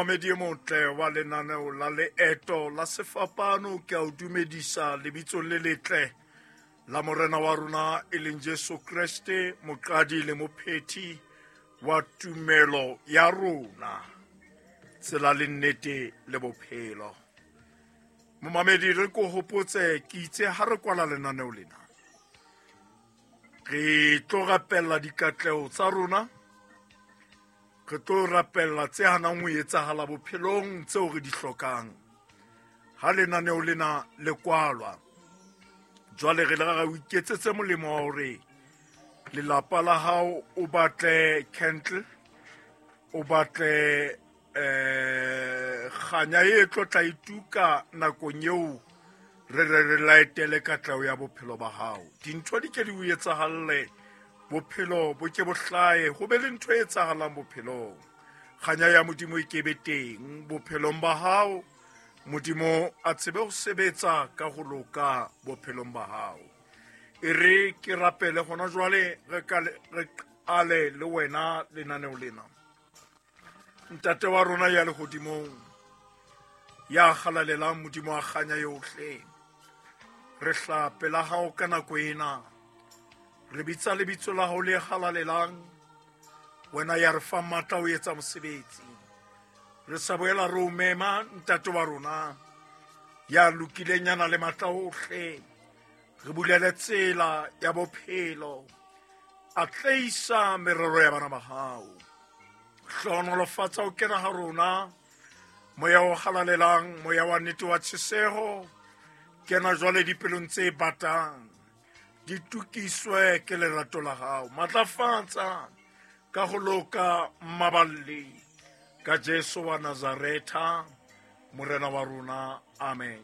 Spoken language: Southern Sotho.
Momamedi e motle wa lenaneo la Leeto la Sefapano, ke a o dumedisa lebitsong le letle la Morena wa rona e leng Jesu Kreste, moqadi le mophethi wa tumelo ya rona, tsela le nnete le bophelo. Momamedi, re ko hopotse ke itse ha re kwala lenaneo lena, re tlo rapella dikatleho tsa rona, re tlo rapella tse hanang ho etsahala bophelong tseo re di hlokang ha lenaneo lena le kwalwa. Jwale re le ra o iketsetse molemo wa hore lelapa la hao o batle candle, o batle kganya e tlo tla ituka nakong eo re re re laetele katleho ya bophelo ba hao. Dintho di ke di o etsahalle, bophelo bo ke bo hlahe, ho be le ntho e etsahalang bophelong. Kganya ya Modimo e ke be teng bophelong ba hao, Modimo a tsebe ho sebetsa ka ho loka bophelong ba hao. E re ke rapele hona jwale, re qale le wena lenaneo lena. Ntate wa rona ya lehodimong, ya halalelang, Modimo wa kganya yohle, re hla pela hao ka nako ena, re bitsa lebitso la hao le halalelang, wena ya re fang matla ho etsa mosebetsi. Re sa boela re o mema, ntate wa rona ya lokileng, ya nang le matla ohle, re bulele tsela ya bophelo, atleisa merero ya bana ba hao. Hlohonolofatsa ho kena ha rona, moya o halalelang, moya wa nnete wa tjheseho, kena jwale dipelong tse batang, di tukiswe ke lerato la hao. Matlafatsa ka ho loka mmaballi, ka Jesu wa Nazaretha, Morena wa rona. Amen.